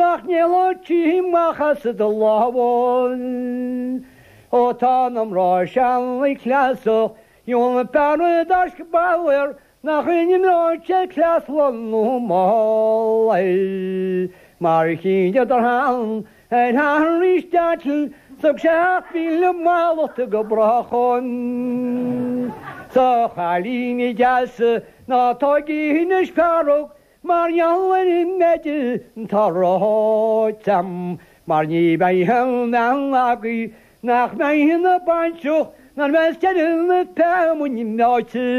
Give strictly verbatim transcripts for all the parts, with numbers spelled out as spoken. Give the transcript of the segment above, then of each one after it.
Nach n-éalódh sí amach as do lámha. Ó tá na mná sean cleasach, Dheon bean daisc bair nach imreoidh sé cleas nó mall. Mar shíneadar an ar arís Thug sé mhíle mallacht go brách. Sa chailín deas ná tógaigí anois fearg mar gheall ar an méid atá ráite a'm, mar ní bheidh aon bhean agaibh nach mbeidh ina bainseach nuair bheas deireadh na feamainne meáite.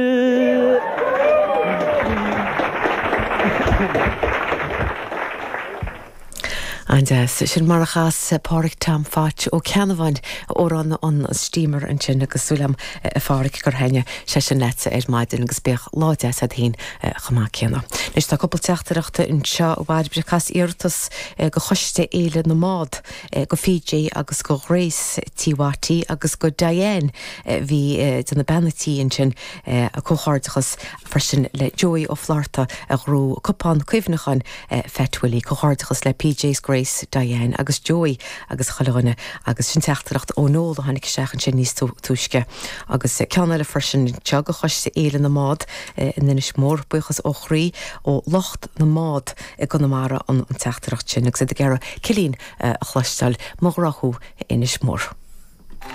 An-deas. Sin mar a chas Pádraig Tom Phatch Ó Ceannabháin amhrán an Steamer ansin agus súil agam a Phádraig gur thaitnigh sé sin leatsa ar maidin agus bíodh lá deas agat féin chomh maith céanna. Anois tá cúpla teachtaireacht anseo a Bhairbre ag iarratas go Choiste Fhéile na mBád go PJ agus go Grace Tí Watty agus go Diane bhí de na bean tí ansin a comhghairdeachas freisin le Joey Ó Flatharta a ghnóthaigh cupán cuimhneacháin Fat Willie comhghairdeachas le PJ Grace, Diane agus Joey agus chuile dhuine agus sin teachtaireacht ó Noel a tháinig isteach ansin níos túisce. Agus ceann eile freisin seo go Choiste Fhéile na mBád in Inis Mór buíochas ó chroí ó lucht na mbád i gConamara an an teachtaireacht sin agus iad ag iarraidh Cillín a chloisteáil mo ghrá thú Inis Mór.